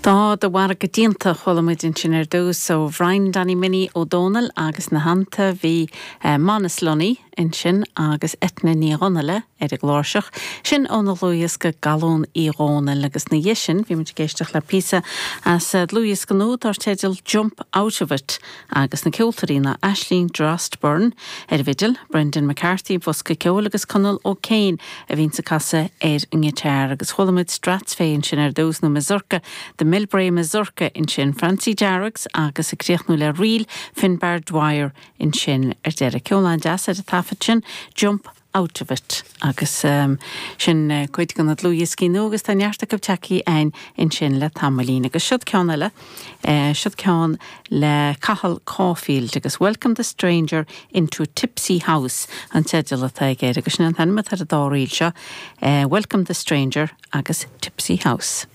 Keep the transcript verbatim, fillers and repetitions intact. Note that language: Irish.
Tá do mhargadh déanta chuala muid ansin ar dtús ó Bhrian Danny Minnie Ó Dónaill agus ina theannta bhí eh, Manus Lunny ansin agus Eithne Ní Dhonnaile ar an gcláirseach, sin óna dhlúthdhiosca Galún Uí Dhónaill agus ina dhiaidh sin bhí muid ag éisteacht le píosa as eh, dlúthdhiosca nua dar teideal Jump Out of It agus na ceoltóirí ná Aisling Drost Byrne ar an bhfidil, Brendan McCarthy bosca ceoil agus Conall O'Kane a bhíonn ag casadh ar an ngiotár agus chuala muid Strathspey ansin ar dtús nó Mazurka, the Millbrae Mazurka ansin Francie Darrogs agus ag críochnú le Ríl Finbar Dwyer ansin ar deireadh ceol an-deas ar an taifead sin Jump Out of It agus um, sin uh, cuid de na dlúthdhioscaí nua agus tá neart acu tagtha againn ansin le tamaillín agus siod ceann eile uh, siod ceann le Cathal Caulfield agus Welcome the Stranger into Tipsy House an teideal atá aige agus sin an t-ainm ar an dá ríl seo uh, Welcome the Stranger agus Tipsy House.